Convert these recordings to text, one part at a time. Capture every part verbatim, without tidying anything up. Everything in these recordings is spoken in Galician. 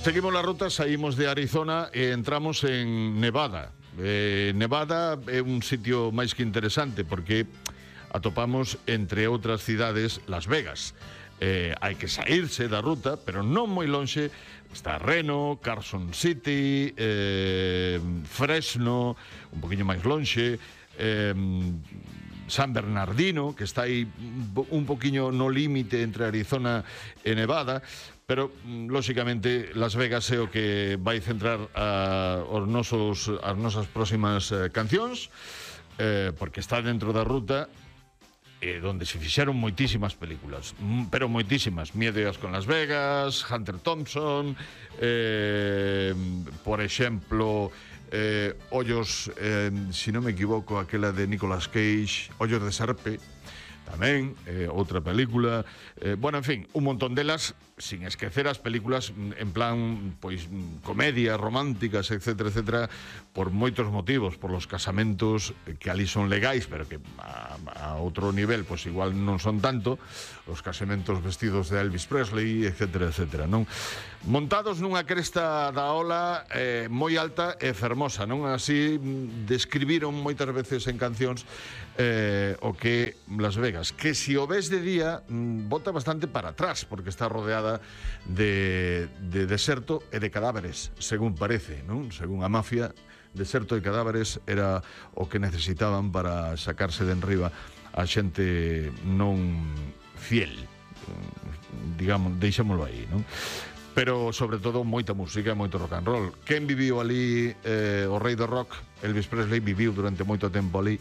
Seguimos la ruta, saímos de Arizona e entramos en Nevada. Eh, Nevada é un sitio máis que interesante porque atopamos, entre outras cidades, Las Vegas. Eh, hai que saírse da ruta, pero non moi lonxe. Está Reno, Carson City, eh, Fresno, un poquinho máis lonxe, eh, San Bernardino, que está aí un poquinho no límite entre Arizona e Nevada, pero, lóxicamente, Las Vegas é o que vai centrar a, os nosos, as nosas próximas eh, cancións, eh, porque está dentro da ruta, eh, donde se fixeron moitísimas películas, pero moitísimas. Miedo con Las Vegas, Hunter Thompson, eh, por exemplo, eh, Ollos, eh, si non me equivoco, aquela de Nicolas Cage, Ollos de Serpe, tamén, eh, outra película, eh, bueno, en fin, un montón delas, sin esquecer as películas en plan, pois, comedia, románticas, etcétera, etcétera, por moitos motivos, por los casamentos que ali son legais, pero que a, a outro nivel, pois igual non son tanto, os casamentos vestidos de Elvis Presley, etcétera, etcétera, non? Montados nunha cresta da ola eh, moi alta e fermosa, non? Así describiron moitas veces en cancións eh, o que Las Vegas, que si o ves de día bota bastante para atrás, porque está rodeada de, de deserto e de cadáveres, según parece, non? Según a mafia, deserto e cadáveres era o que necesitaban para sacarse de enriba a xente non fiel, digamos, deixémolo aí, non? Pero, sobre todo, moita música, moito rock and roll. Quen viviu ali, eh, o rei do rock, Elvis Presley, viviu durante moito tempo ali,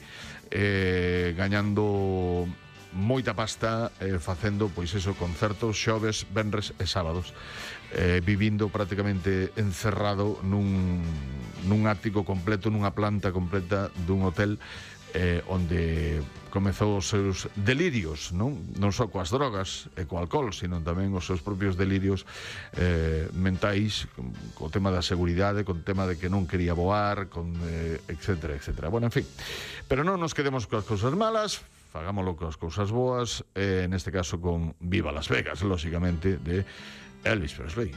eh, gañando moita pasta, eh, facendo, pois eso, concertos xoves, venres e sábados, eh, vivindo prácticamente encerrado nun, nun ático completo, nunha planta completa dun hotel, eh, onde comezou os seus delirios, non? Non só coas drogas e co alcohol, sino tamén os seus propios delirios eh, mentais, co tema da seguridade, con tema de que non quería voar, con eh, etcétera, etcétera. Bueno, en fin, pero non nos quedemos coas cousas malas, fagámoslo coas cousas boas, eh, neste caso con Viva Las Vegas, lóxicamente, de Elvis Presley.